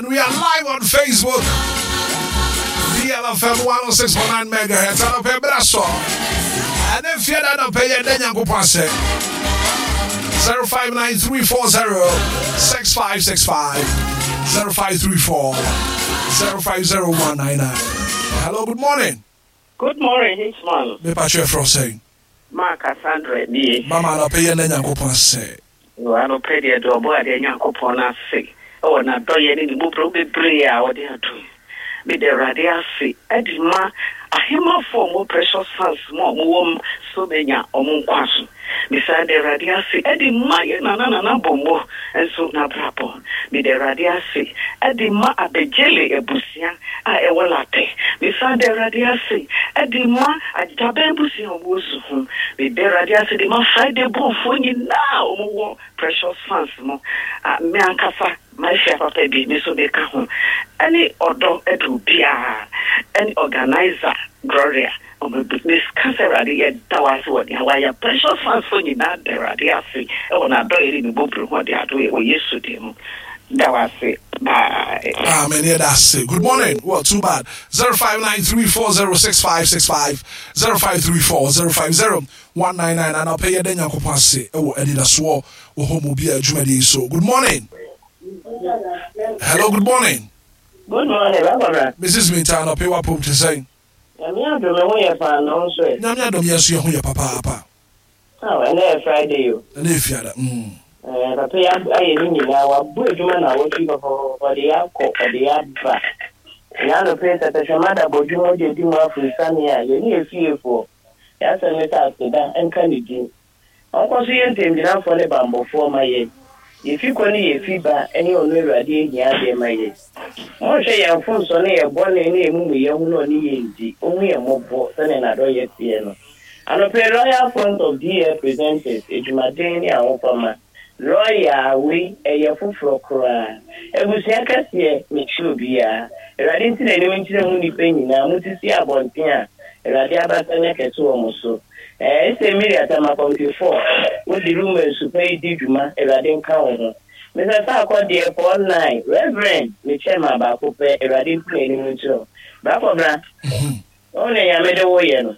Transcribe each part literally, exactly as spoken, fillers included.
And we are live on Facebook. D L F M one oh six point nine megahertz. Anɔpɛ berɛ so. Ɛne fiada anɔpɛ yɛ dɛ Nyankopɔn ase. zero five nine three four zero six five six five, zero five three four zero five zero one nine nine. Hello, good morning. Good morning, Hitman. Mepa kyerɛ frɛ sɛn? Mark Cassandra nie. Mama, anɔpɛ yɛ dɛ Nyankopɔn ase. Anɔpɛ deɛ, de ɔbɔ adeɛ Nyankopɔn no ase ɛwɔ n'adɔyɛ ne ne mmɔborɔ bebree a ɔde adom. Mede Awurade ase ɛde ma ahemafoɔ a ɔmo Precious Fans mu a ɔmo wɔ m so menya ɔmo nkwa so. Mesan de Awurade ase ɛde ma yɛ nana nana Bɔmmɔ nso n'abrabɔ. Mede Awurade ase ɛde ma Abɛgyele abusua a ɛwɔ Latɛ. Mesan de Awurade ase ɛde ma Agyabɛn abusua a ɔmo wɔ Suhum. Mede Awurade ase de ma Friday bɔnfoɔ nyinaa a ɔmo wɔ Precious Fans mu. A me ankasa mahyia papa bi, me nso meka ho ɛne ɔdɔ ɛde obiara ɛne organizer Gloria ɔmo bi. Meka sɛ Awurade, yɛda wo ase wɔ nea wayɛ. Precious Fans fo nyinaa da Awurade ase ɛwɔ n'adɔyɛ ne ne bɔbere ho ɔde ado yɛ wɔ Yesu din mu. Da wo ase, bye. Amen. Yeah, that's it. Good morning. Well, too bad. zero five nine three four zero six five six five, zero five three four zero five zero one nine nine. Anɔpɛ yɛ dɛ Nyankopɔn ase ɛwɔ anidasoɔ wɔ hɔ mu bi a adwumadie yi so. Good morning. Hello, good morning. Good morning, Barbara. Missus Minta, anɔpɛ wapom te sɛn? Nyame adom, ɛho yɛ paa, na wo nso ɛ? Nyame adom, yɛn nso yɛ ho yɛ papaapa. Aw, ɛnɛ yɛ Friday o. Ɛnɛ yɛ fiada. Mm. Ɛɛ, papa yi ab- ayɛ ne nyinaa, wabɔ adwuma na awɔtwe pɔpɔpɔpɔ, ɔde yɛ akɔ, ɔde yɛ aba. Ɛnyɛ anɔpɛ sɛ tɛhwɛma da bɔ dwuma ɔde adi mu afurusane a yɛne yɛ fiefoɔ. Yɛasɛm ne sɛ aseda nka ne din. Ɔnkɔ so yɛ ntɛmgyinafoɔ ne bambɔfoɔ ma yɛn. Yɛfi kɔ ne yɛfi ba ne ɔno Awurade ahia adeɛ ma yɛn. Monhwɛ yɛn mfomso ne yɛn bɔne ne yɛn mumuyɛ ho na ɔne yɛn di. Ɔhu yɛn mmɔbɔ sɛnea n'adɔyɛ teɛ no. Anɔpɛ, Royal Front of D L Presenters, adwumaden ne ahofama. Royal wei ɛyɛ foforɔ koraa. Abusua kɛseɛ, mekyerɛ obiara. Awurade nti n'anim nkyerɛ mu nnipa nyinaa. Motisi abɔnten a Awurade abasa nyɛ kɛse wɔ mo so. Ɛɛ sɛ Mary Atama Committee four, wode ruma nsupa yi di dwuma, Awurade nka wo ho. Mister Saakɔ deɛ four nine, Reverend, mekyɛ ma baako pɛ, Awurade nti n'anim nkyerɛ wo. Brakɔbra, wɔn na Nyame de woyɛ no.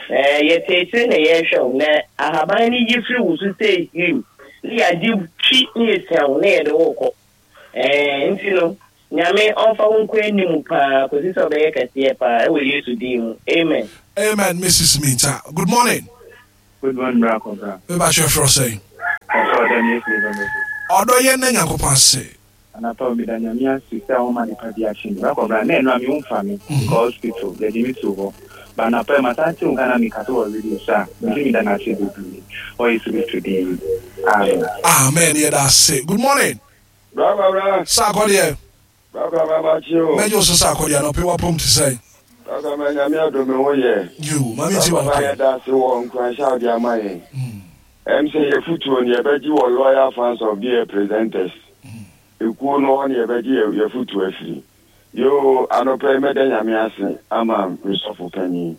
Ɛɛ yɛte akyire na yɛrehwɛ wo na ahaban no yi firi wo so sɛ him ne yɛagye twi ne yɛsia wo na yɛde wo kɔ. Ɛɛ nti no, Nyame ɔmfa wo nkɔ anim paa kɔsi sɛ ɔbɛyɛ kɛseɛ paa ɛwɔ Yesu din mu. Amen. Amen, Missus Minta. Good morning. Good morning, Brakɔbra. Mepa kyerɛ frɛ sɛn? Ɔsɛ ɔdɔ ne Yesu ne bɛmɛ so. Ɔdɔ yɛ ne Nyankopɔn ase. Anapa meda Nyame ase sɛ woma nipa bi akye me. Brakɔbra, na ɛno a me mfa me kɔ hospital, yɛde me to hɔ. Ba anapa yi masan te wo nka na meka sɛ wɔ radio so a, mese meda no ase bebree. Wɔ Yesu Kristo din mu. Amen. Amen. Yɛ da ase. Good morning. Brakɔbra. Saakɔ deɛ. Brakɔbra, makye o. Mɛgye wo so, Saakɔ deɛ. Anɔpɛ wapom te sɛn? Brakɔbra, Nyame adom, me ho yɛ. Yo, mame nti Brakɔbra, wanɔpɛ. yɛda ase wɔ nkuranhyɛ a wode ama yɛn. Ɛm sɛ yɛfotuo no yɛbɛgye wɔ Loyal Fans of D L Presenters ekuo no hɔ ne yɛbɛgye yɛ- yɛfotuo afiri. Yo, anɔpɛ yi mɛda Nyame ase ama mesɔfo panyin.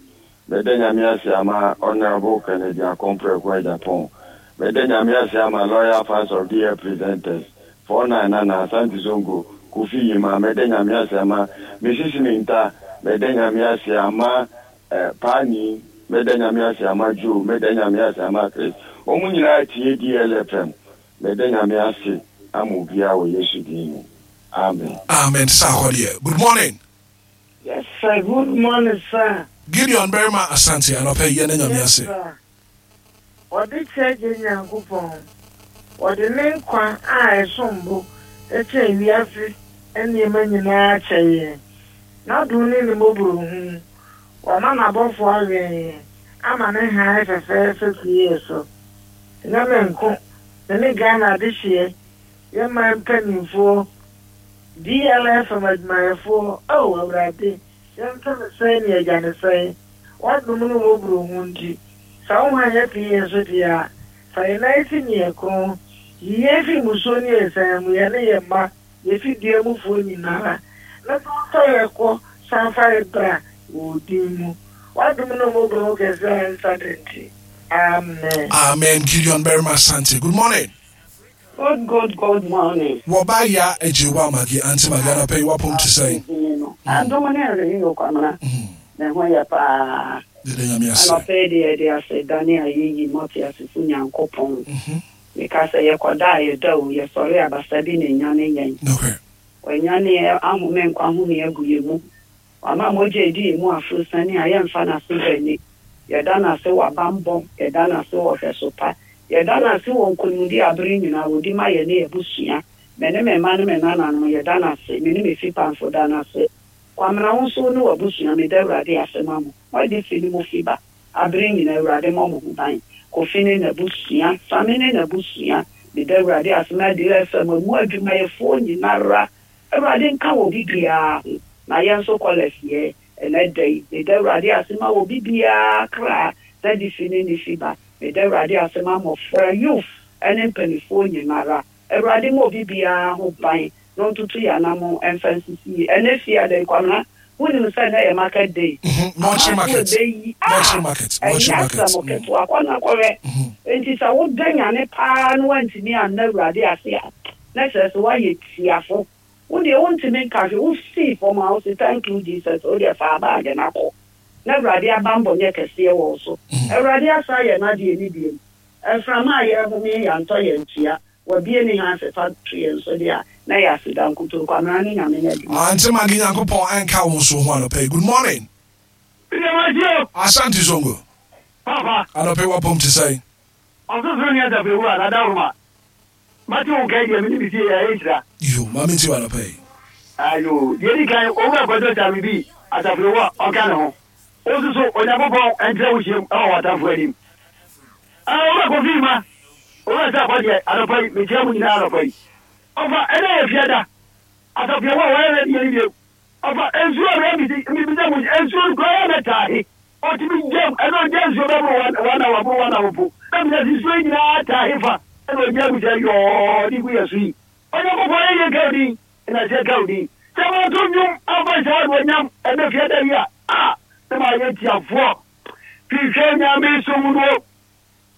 Mɛda Nyame ase ama Honorable Kennedy Akɔmprɛko Agyapong. Mɛda Nyame ase ama Loyal Fans of D L Presenters four nine nana Asante Zongo Kofi Yima. Mɛda Nyame ase ama Missus Minta. Mɛda Nyame ase ama eh, Paani. Mɛda Nyame ase ama Joe. Mɛda Nyame ase ama Chris. Wɔn nyinaa tie D L F M. Mɛda Nyame ase ama obiara wɔ Yesu din mu. Amen. Amen. Saakɔ deɛ. Good morning. Yes, sir. Good morning, sir. Gideon Berima Asante, anɔpɛ yɛ ne Nyame Yes, ase. sir. Ɔde kyɛ gye Nyankopɔn. Ɔde ne nkwa a ɛsom bo kyɛn wiase nneɛma nyinaa kyɛ yɛn. N'adom ne ne mmɔborɔhunu. Wama n'abɔfoɔ awɛn yɛn ama ne hann fɛfɛɛfɛ pue yɛ so. Ɛnyɛ me nko, me ne Ghana adehyeɛ, yɛn man mpanimfoɔ, D L F M adwumayɛfoɔ, oh Awurade, yɛnto ne sɛn ne agya ne sɛn. W'adom ne mmɔborɔhunu nti, sɛ wo hann apue yɛn so deɛ a, fa yɛn nan si ne yɛn kɔn. Yi yɛn fi mmusuo ne asiane mu, yɛne yɛn mma, yɛfi dua mufoɔ nyinaa. Na san fa yɛn kɔ, san fa yɛn bra wɔ wo din mu. W'adom ne mmɔborɔhunu kɛseɛ a ɛnsa da nti. Amen. Amen. Gideon Berima Asante. Good morning. Good, good, good morning. Wɔba ya agye wa magi Auntie Magi anɔpɛ yi wapɔm te sɛn? Adom ne ɛreyi wɔ Kwamina. Ne ho yɛ paa. Dede Nyame ase. Anɔpɛ yi deɛ yɛde ase da ne ayɛyi mɔte asefo Nyankopɔn. Meka sɛ yɛkɔda a yɛda o, yɛsɔre abasa bi na ɛnyane yɛn. Nokorɛ. Wanyane ahome nkwa home agu yɛn mu. Wama mogya edi yɛn mu aforo sani a yɛmfa n'ase bɛni. Yɛda n'ase wɔ abambɔ, yɛda n'ase wɔ hwɛso pa. Yɛda n'ase wɔ nkonimdi abere nyinaa wɔdi ma yɛ ne abusua. Me ne me mma ne me nananom yɛda n'ase, me ne me fipamfo da n'ase. Kwamina wo nso ne w'abusua meda Awurade ase ma mo. Moadi fi ne mo fi ba. Abere nyinaa Awurade mmɔ mo ho ban. Kofi ne n'abusua, Same ne n'abusua. Meda Awurade ase ma adi F M mu adwumayɛfoɔ nyinara. Awurade nka wɔ bibiara ho. Na yɛn nso kɔlɛs yɛ ɛnɛ da yi. Meda Awurade ase ma wɔ bibiara kra na di fi ne ne fi ba. Meda Awurade ase ma mmɔfra, youth ɛne mpanimfoɔ nyinara. Awurade ma obi biara ho ban na ɔntutu yɛn anam ɛmfa nsisi yie. Ɛnɛ fie ada Kwamina, wonim sɛ ɛnɛ yɛ market day. Nɔkyere market. Ɛbɛyi. Nɔkyere market. Nɔkyere Ɛnyɛ market. asɛm ketewa kɔ na kɔhwɛ. Nti sɛ woda nyane paa na woantumi anna Awurade ase a, na kyerɛ sɛ woayɛ tiafo. Wo deɛ wontumi nka hwee, wosii fam a wose thank you Jesus, wo deɛ fa baage na kɔ. Na Awurade abambɔ nyɛ kɛseɛ wɔ wo so. Awurade asa yɛ n'adeɛ ne biom. Mframa a yɛhome yɛantɔ yɛn tua. Wabie ne ha ase fa to yɛn so deɛ a, na yɛ aseda nkutoo. Kwamina ne Nyame nyɛ adwuma. Auntie Magi Nyankopɔn ɛnka wo nso ho anɔpɛ yi. Good morning. Ìdèmàdìo. Asante Zongo. Papa. Anɔpɛ yi wapɔm te sɛn? Ɔsosoro ní asafo ewu a n'adawuruma. Mate wo nkae deɛ mene me fie yɛ ayɛ nhyira. Yo, maame nti wɔ anɔpɛ yi. Ayo, deɛ di kan, owura Kwadwo Sami bi asafo ewu a ɔka ne ho. Wo nso so, Onyankopɔn ɛntrɛ wo hyiam ɛwɔ w'atamfo anim. Ah, owura Kofi ma, owura sɛ akɔdeɛ anɔpa yi, mekyia mu nyinaa anɔpa yi. Ɔfa, ɛnɛ yɛ fiada. Asafo ewu a wɔyɛ ready yɛ ni bio. Ɔfa, nsuo a mebisa mebisa mu, nsuo no koraa yɛ na taahe. Ɔtumi gyam, ɛna ɔgya nsuo bɛboro one one hour, boro one hour po. Na bisa sɛ nsuo yi nyinaa taahe fa, ɛna ɔgya gu sɛ yɔɔ de gu yɛ so yi. Onyankopɔn yɛ yie ka wo din, ɛna sɛ ka wo din. Sɛ wɔto nnwom amfa nhyɛ wo anuonyam ɛnɛ fiada yi a, a, na ma yɛ tiafoɔ. Hwehwɛ Nyame som no,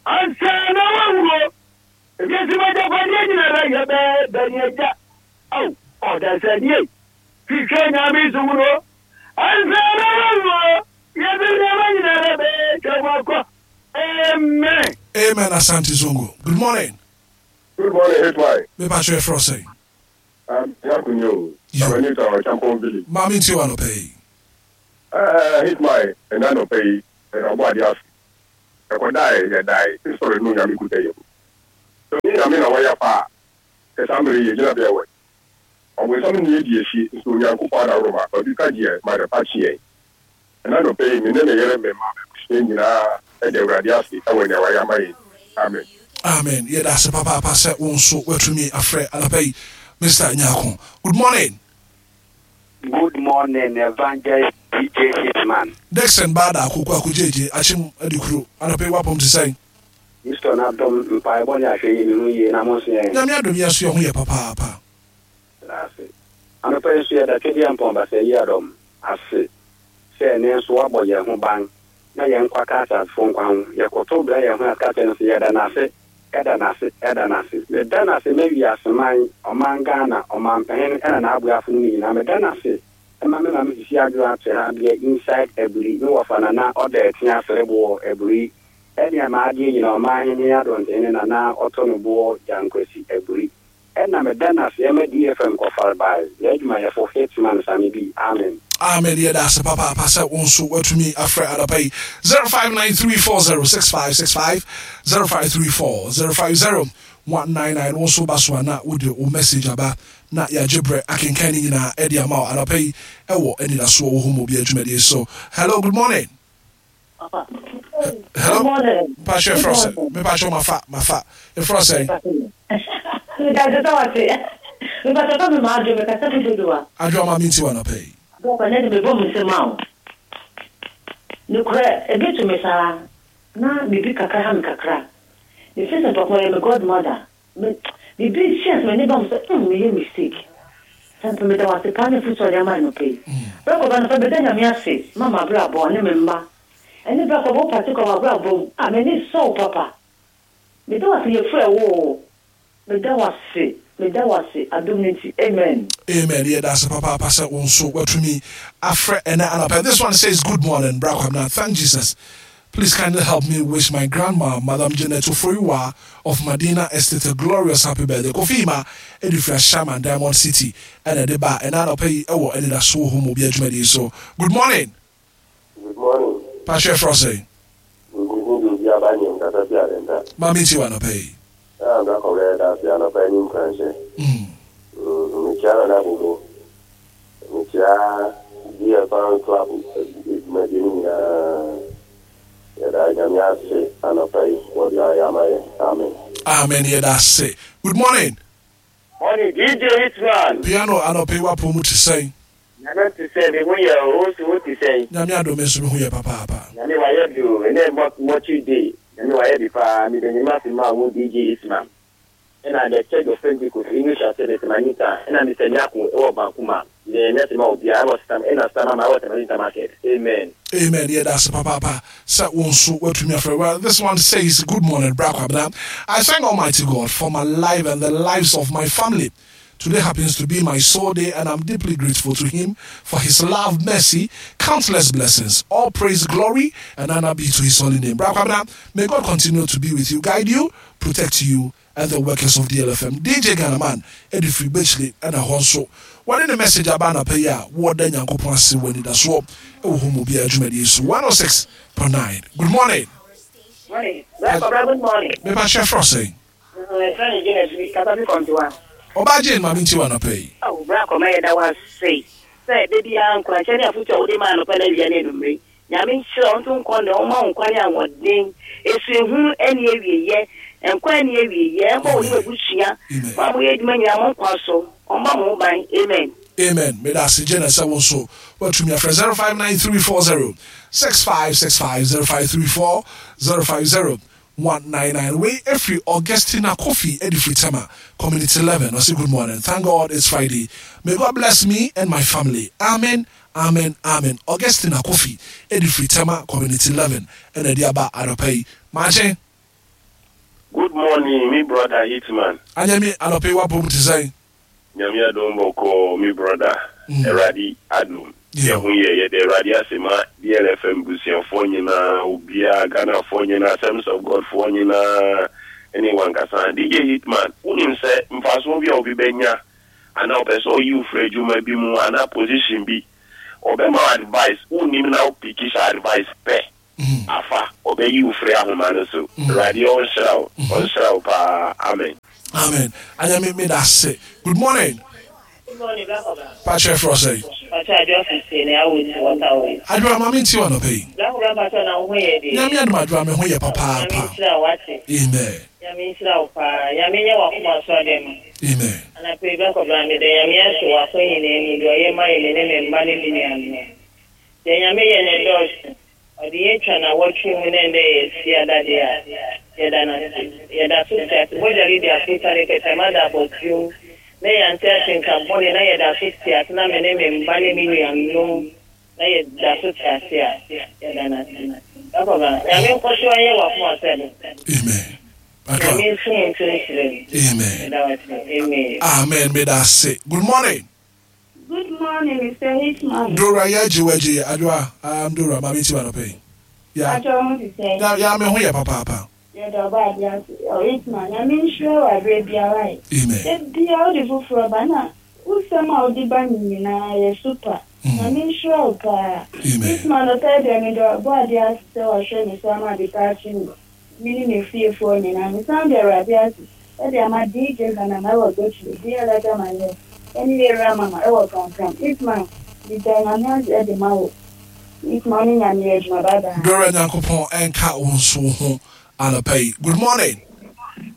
ansa na wawuo. Ewiase mu agyapadeɛ nyinara yɛ bɛɛ bɛni agya. Aw, ɔdasani. Hwehwɛ Nyame som no, ansa na wawuo. Wiase nneɛma nyinara bɛɛ twa mu akɔ. Amen. Amen Asante Zongo. Good morning. Good morning, H Y. Mepa kyerɛ frɛ sɛn? Um, Yakunyo. Yo. I'm a new town, Champon Village. Maame nti wɔ anɔpɛ yi. Uh, Hitman, ɛna nɔpɛ yi, ɛna ɔbɔ ade ase. Ɛkɔdae, yɛdae, sɔre no Nyame kuta yɛ mu. Sɛ ɔnyɛ Nyame na wɔyɛ pa a, kɛsa mmere yɛ gyina bɛɛ wɛ. Ɔbonsam ne yɛdi akyi, nso Onyankopɔn adaworoma, ɔde ka gyeɛ ma ne pa kyeɛ. Ɛna nɔpɛ yi, me ne me yere, me ma, m'abusua nyinaa ɛda Awurade ase ɛwɔ nea wayɛ ama yɛn. Amen. Amen. Yɛda ase papaapa sɛ wo nso woatumi afrɛ anɔpɛ yi. Mister Nyako. Good morning. Good morning, Evangelist D J Hitman. Dixon Bada Akoko Akogyeegye Akyem Adikuro. Anɔpɛ yi wapɔm te sɛn? Kristo n'adom mpaebɔ ne ahwɛ yi ne ho yie na mo nso yɛn. Nyame adom yɛ so yɛ ho yɛ papaapa. Ase. Anɔpa yi nso yɛda Twɛdeɛ Mpɔn Basa yi adɔm ase sɛ ɛnɛ nso wabɔ yɛn ho ban na yɛn nkwa ka asasefo nkwa ho. Yɛkoto brɛ yɛn ho ase kyerɛ no sɛ yɛda n'ase, ɛda n'ase, ɛda n'ase. Meda n'ase ma wiaseman, ɔman Ghana, ɔmanpanyin ɛna n'aboafo no nyinaa. Meda n'ase ɛma me maame sisi adwo ato ha deɛ inside Aburi, me wɔfa nana ɔda ɛte asereboɔ Aburi. Ɛne ama adeɛ nyinaa ɔman hene adɔntene nana ɔtɔ no boɔ Gyankwasi Aburi. Ɛna meda n'ase ɛma D F M kɔfare bae. Yɛ adwumayɛfo Hitman Sami bi. Amen. Amen. Yɛda ase papaapa sɛ wo nso woatumi afrɛ anɔpa yi. zero five nine three four zero six five six five, zero five three four zero five zero one nine nine. Wo nso ba so a na wode wo message aba na yɛagye berɛ akenkan ne nyinaa ɛde ama wo anɔpa yi ɛwɔ anidasoɔ wɔ hɔ mu bi adwumadie so. Hello, good morning. Hello. Mpakyɛ ɛfrɛ sɛ mepakyɛ mafa mafa ɛfrɛ sɛ Mepatɛ me ma adwo mekasa fi dodowa. Adwo ama menti wɔ anɔpa yi. Bɔkɔ ne de mebɔ me nsɛm a o nokorɛ ebi to me saa na biribi kakra ha me kakra mefi sɛ papa yɛ me godmother me biribi hyɛ sɛ m'ani ba mu sɛ mm meyɛ mistake sɛ mpa meda wase paa ne fi sɛ ɔde ama no pɛ yi brɛkɔba no fa meda Nyame ase ma mabrabɔ ne me mma ɛne brɛkɔba wo pate kɔ mabrabɔ mu a m'ani sɔw papa meda wase yɛfrɛ wo o. Meda wo ase, meda wo ase, adom no nti, amen. Amen. Yɛda ase papaapa sɛ wo nso watumi afrɛ ɛnɛ anɔpa. This one says, "Good morning, Bra Kwabena. Thank Jesus. Please kindly help me wish my grandma, Madam Janet Oforiwa of Madina Estate, a glorious happy birthday." Kofi Ima ɛde firi Ashaiman Diamond City ɛna ɛde ba ɛnɛ anɔpa yi ɛwɔ Anidasoɔ Hɔ mu obi adwumadie so. Good morning. Good morning. Pahyɛ frɛ sɛ. Nkuku bi obi aba nyɛ nkasa fi adenta. Maame nti wɔ anɔpa yi. Ah, bra kɔbɛ da ase anɔpa yi ne nkuranhyɛ. Mm. Mekyia Nana Bobo. Mekyia D L Fan Club adwumadie no nyinaa. Yɛda Nyame ase anɔpa yi wɔde ayɛ ama yɛn. Amen. Amen. Yɛda ase. Good morning. Morning, D J Hitman. Piano, anɔpa yi wapɔ mu te sɛn? Nyame te sɛ me ho yɛ o, so wo te sɛn? Nyame adom, nso me ho yɛ papaapa. Nyame wayɛ bi o, ɛnɛ mɔkyi day. Nyame wayɛ bi paa, mede nyame ase ma wo D J Hitman. Ɛna the Church of Pentecost English Service Manita, ɛna Mister Nyako ɛwɔ Bankuma. Mede nyame ase ma obiara ɛwɔ Stam, ɛna Stam ama ɛwɔ Tamanita Market. Amen. Amen. Yeah, that's papa. Sɛ wo nso watumi afrɛ. Well, this one says, "Good morning, Bra Kwabena. I thank Almighty God for my life and the lives of my family. Today happens to be my soul day, and I'm deeply grateful to Him for His love, mercy, countless blessings. All praise, glory, and honor be to His holy name. Bra Kwabena, may God continue to be with you, guide you, protect you, and the workers of D L F M. D J Ghanaman, Eddie Free Bechley, and a Honso." Wɔde ne message aba anapa yi a wɔda Nyankopɔn ase wɔ anidasoɔ ɛwɔ hɔ mu bi adwumadie so one oh six point nine. Good morning. Morning. Black Cobra, good morning. Mepa kyɛ frɔ sɛn? Ɛfrɛ ne Janet bi, kasa fi kɔntiwa. Ɔbaa Jane, maame nti wɔ anapa yi. Awo, Black Cobra, yɛda wo ase sɛ da biara nkuranhyɛ ne afotu a wode maa anɔpa no awia ne anwummere. Nyame nhyira wo nto nkɔ ne ɔma wo nkwa ne ahoɔden. Esu ehu ɛne awieyɛ. Nkwa ɛne awieyɛ. Ɛmbɔ wo ne w'abusua. Amen. Mo a moyɛ adwuma nyinaa mo nkwa so. Ɔmma mo ho ban. Amen. Amen. Meda ase, Janet, sɛ wo nso watumi afrɛ zero five nine three four zero six five six five, zero five three four zero five zero one nine nine. Wei ɛfiri Augustina Kofi ɛde firi Tema Community eleven. Ɔse, "Good morning. Thank God it's Friday. May God bless me and my family. Amen, amen, amen." Augustina Kofi ɛde firi Tema Community eleven ɛna ɛde aba anɔpa yi. Maakye. Good morning, me brother Hitman. Anyame, anɔpa yi wapɔ mu te sɛn? Nyame adom, bɔkɔɔ, me brother. Mm. Awurade adom. Yeah. Yɛho yɛ, yɛde Awurade ase ma D L F M busuafoɔ nyinaa, obiara, Ghanafoɔ nyinaa, Assemblies of God foɔ nyinaa, ɛne wankasa. D J Hitman, wonim sɛ mfasoɔ bi a obi bɛnya anaa ɔpɛ sɛ ɔyi wo firi adwuma bi mu anaa position bi, ɔbɛma wo advice, wonnim na wopick hyɛ advice pɛ. Mm. Afa, ɔbɛyi wo firi ahoma no so. Awurade ɔnhyira wo, ɔnhyira wo paa. Amen. Amen. Anyame, meda ase. Good morning. Good morning, Black Cobra. Pakyɛ frɔ sɛn? Pakyɛ Adwoa Fifty ne awo ti waterway. Adwoa, maame nti wɔ anɔpa yi. Black Cobra, pakyɛ na wo ho yɛ deɛ? Nyame adom, Adwoa, me ho yɛ Nyame papaapa. nhyira wo ate. Amen. Nyame nhyira wo paa. Nyame nyɛ w'akoma so ade ma. Amen. Anapa yi, Black Cobra, meda Nyame ase wɔ akɔ nyinaa mu deɛ ɔyɛ ma yɛ me ne me mma ne me nuanom. Deɛ Nyame yɛ ne dɔɔso. Ɔde yɛn twa na wɔtwe mu na ɛndɛ yɛ si adadeɛ a yɛda no ase. Yɛda so te ase. Mogya de di afota ne kɛtɛma da abɔtuom. Na yɛante atenka bɔne na yɛda so te ase na me ne me mma ne me nuanom na yɛda so te ase a yɛda no ase. Black Cobra, Nyame nkɔ so anyɛ w'akoma sɛ no. Amen. Adwoa. Nyame nso mu nto nhyira mu. Amen. Meda wo ase. Amen. Amen. Meda ase. Good morning. Good morning, Mister Hitman. Dora, yɛgye wagye. Adwoa, um, Dora, maame nti wɔ anɔpa yi ya. Atwa ho te sɛ? Ya ya, me ho yɛ papaapa. Yɛda ɔba ade ase. Ɔ Hitman, Nyame nhyira wɔ aberɛ biara yi. Amen. Da biara wode foforɔ ba na wosɛm a wode ba no nyinaa yɛ super. Nyame nhyira wo paa. Amen. Hitman, ɔpɛ deɛ mede ɔbɔ ade ase sɛ wahwɛ me so ama ade pa akye me. Me ne me fiefoɔ nyinaa. Mesan de Awurade ase ɛde ama D J Ghana ɛwɔ Gotri, D L Ghana ɛne Yɛwura Mama ɛwɔ Prampram. Hitman, meda Nyame ase ɛde ma wo. Hitman ne Nyame yɛ adwuma. Bye bye. Dora, Nyankopɔn ɛnka wo nso wo ho anɔpa yi. Good morning.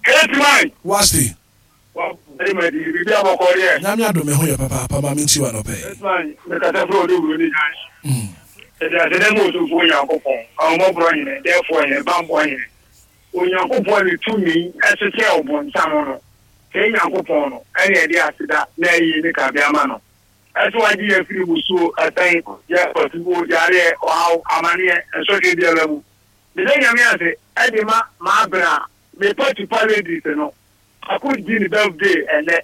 Hitman. Wasti. Wàá di biribi abɔkɔ deɛ. Nyame adom, me ho yɛ papaapa. Maame nti wɔ anɔpa yi. Hitman, mekasa firi ɔde wuro ne gyan. Mm. Yɛde aseda mu Otumfoɔ Onyankopɔn, ahomɔborɔ hene, dɛɛfoɔ hene, bammɔ hene. Onyankopɔn ne tumi ɛhyehyɛ ɔbɔnsam no. Sɛ Nyankopɔn no, ɛne yɛde aseda na ayi ne kabea ama no. Ɛsɛ wagye yɛ firi musuo, ɛsɛn, yɛ ɔtuo, yareɛ, ɔhaw, amanneɛ, nsɔhwɛ biara mu. Meda Nyame ase ɛde ma maabena me patupa ladies no. Baako di ne birthday ɛnɛ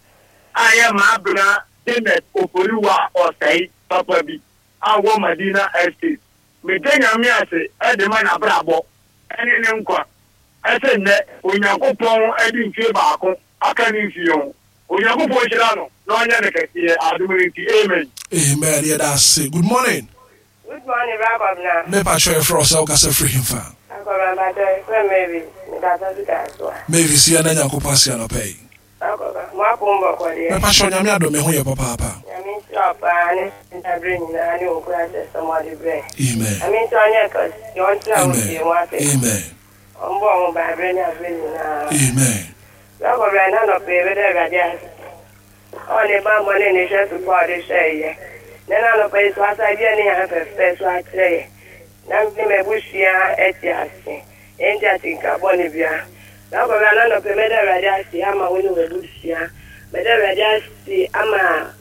a yɛ Maabena Janet Oforiwa Ɔsɛe papa bi a wɔ Madina Estate. Meda Nyame ase ɛde ma n'abrabɔ ɛne ne nkwa. Ɛsɛ nnɛ Onyankopɔn ɛde mfie baako aka ne mfie ho. Onyankopɔn hyira no na ɔnyɛ ne kɛseɛ adom no nti, amen. Amen. Yɛda ase. Good morning. Good morning, Rabbi. Mepa kyerɛ frɛ sɛ wokasa firi hemfa? Akɔba frɛ Mary, mekasa fi Kasoa. Mavis, yɛna Nyankopɔn ase anɔpa yi. Akɔba, mo apom bɔkɔ deɛ? Mepa kyerɛ, Nyame adom, me ho yɛ papaapa. Nyame nhyira wo paa ne ntaberɛ nyinaa ne wo nkura sɛ sɛm ɔde brɛ. Amen. Nyame nhyira wo nyɛ kɛse, ɔntena wo fie mu ase. Amen. Ɔmbɔ wo ho ban aberɛ ne aberɛ nyinaa. Amen. Akɔba, na nɔpɛ yɛbɛda Awurade ase. Ɔne bammɔ ne ne hwɛ so pa a ɔde hwɛ yɛ. Na na nɔpɛ yi so asa bi a ne yɛn fɛfɛ so akyerɛ yɛ. Na me m'abusua ɛte ase. Ɛnti atenka bɔne bia. Na akɔba, na nɔpɛ mɛda Awurade ase ama wo ne w'abusua. Mɛda Awurade ase ama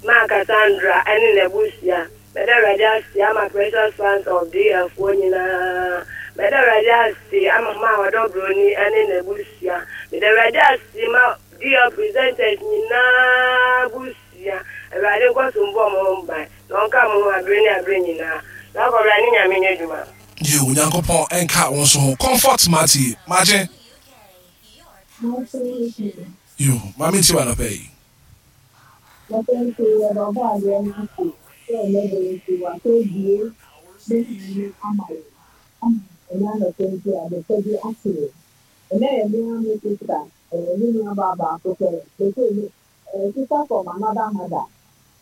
Maa Cassandra ɛne n'abusua. Mɛda Awurade ase ama Precious Fans of D F foɔ nyinaa. Mɛda Awurade ase ama maa Ɔdɔ Broni ɛne n'abusua. Mɛda Awurade ase ma D F presenters nyinaa abusua. Awurade nkɔ so mbɔ mo ho ban na ɔnka mo ho abere ne abere nyinaa. Na akɔbra ne Nyame nyɛ adwuma. Yo, Onyankopɔn ɛnka wo nso ho. Comfort Mati magye. Yo, maame, nti wa anɔpa yi? Nso yɛde ɔbɔ adeɛ no ase sɛ ɛnɛ de nso wasɛ bie ne hann ama yɛn ama ɛnɛ anɔpɛ nso abɛpɛ bi ate yɛn. Ɛnɛ yɛ mmea me sister, ɛyɛ me nua baa baako pɛ bɛsɛ me ɛɛ sister from another mother,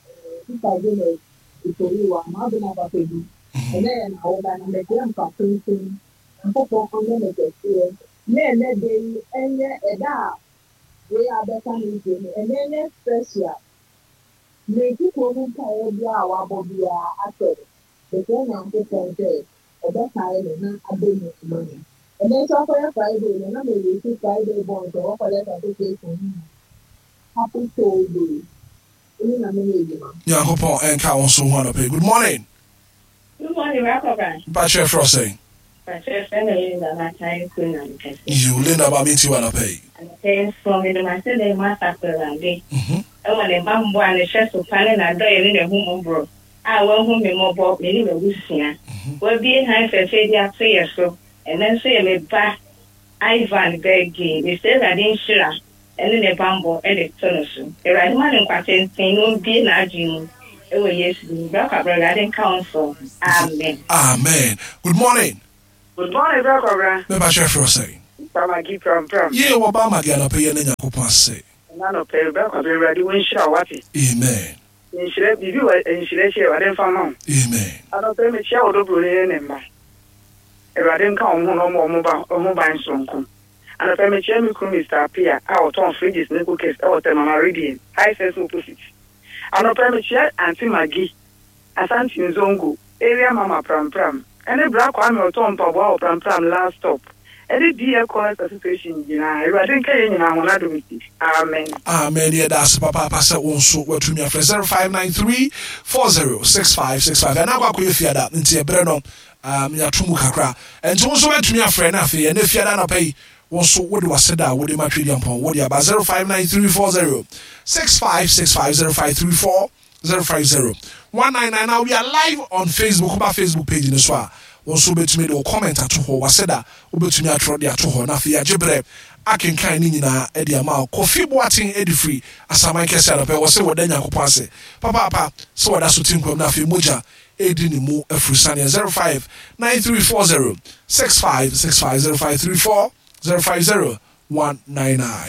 ɛɛ Sister Janet Iforiwa, maa bi na papa bi. Ɛnɛ yɛ n'awoda na mɛkyerɛ mfa tenten nkokɔ ɔnyɛ ne kɛseɛ ne ɛnɛ de yi ɛnyɛ ɛda a wei abɛka ne nsuo no, ɛnɛ nyɛ special. Ne kukuo mu mpaeɛ biara a wabɔ biara asɛ no, bɛsɛ Nyankopɔn sɛ ɔbɛkae no na abɛ mu ama no. Ɛnɛ nso akɔyɛ Friday no na mɛyɛsi Friday born sɛ wɔkɔlɛ association mu. Happy Soul Day. Ɛne na mene adwuma. Nyankopɔn ɛnka wo nso ho anɔpa yi. Good morning. Good morning, Rakɔba. Mepa kyerɛ frɛ sɛn? Pakyɛ frɛ me Linda Matan kuro na mekɛse. Yo, Linda, maame, nti wa anɔpa yi? Anɔpɛ nso mede m'ase dɛ mu asafo Awurade ɛwɔ ne bammɔ a ne hyɛ so pa ne n'adɔyɛ ne n'ahummɔborɔ a wahu me mmɔbɔ, me ne m'abusua. Wabie han fɛfɛ bi ato yɛ so. Ɛnɛ nso yɛ me ba Ivan birthday. Mesɛ Awurade nhyira ɛne ne bammɔ ɛde to no so. Awurade ma ne nkwa tenten na ɔmbie n'adwene mu ɛwɔ Yesu din mu. Bra Awurade nka wo nso. Amen. Amen. Good morning. Good morning, Bra. Mepa kyerɛ frɛ sɛn? Pamagi pram pram. Yie, wɔba Magi, anɔpa yi ne Nyankopɔn ase. Na no pɛ Bra Kwabra, Awurade wo nhyira wo wate. Amen. Nhyira biribi wɔ nhyira akyi, Awurade mfa ma wo. Amen. Anɔpɛ mekyia wo dɔbro ne ne mma. Awurade nka wɔn ho na ɔmo ɔmo ba ɔmo ban soronko. Anɔpɛ mekyia me kunu Mister Apia a ɔtɔn fridges ne cookers ɛwɔ Tɛmama Radiant High Sense opposite. Anɔpɛ mekyia Aunty Maggie, Asante Nzongo, area mama Pram Pram. Ɛne Bra Kwame ɔtɔn mpaboa wɔ Pram Pram last stop. Ɛne D L College Association nyinaa. Awurade nka yɛn nyinaa ho n'adom nti. Amen. Amen. Yɛda ase papaapa sɛ wo nso watumi afrɛ zero five nine three four zero six five six five. Ɛna akɔ akɔyɛ fiada nti ɛberɛ no um, yɛato mu kakra, ɛnti wo nso watumi afrɛ no. Afei ɛnɛ fiada anɔpa yi, wo nso wode waseda a wode ma Twediampɔn wode aba zero five nine three four zero six five six five, zero five three four zero five zero one nine nine. Now we are live on Facebook. Woba Facebook page no so a, wo nso wobɛtumi de wo comment ato hɔ, waseda wobɛtumi atwerɛ de ato hɔ na afei agye berɛ akenkan ne nyinaa de ama wo. Kofi Boaten de firi Asaman Kɛse anɔpɛ wɔ sɛ wɔda Nyankopɔn ase papaapa sɛ wɔda so te nkwam na afei mogya ɛdi ne mu afiri saneɛ. zero five nine three four zero six five six five, zero five three four zero five zero one nine nine.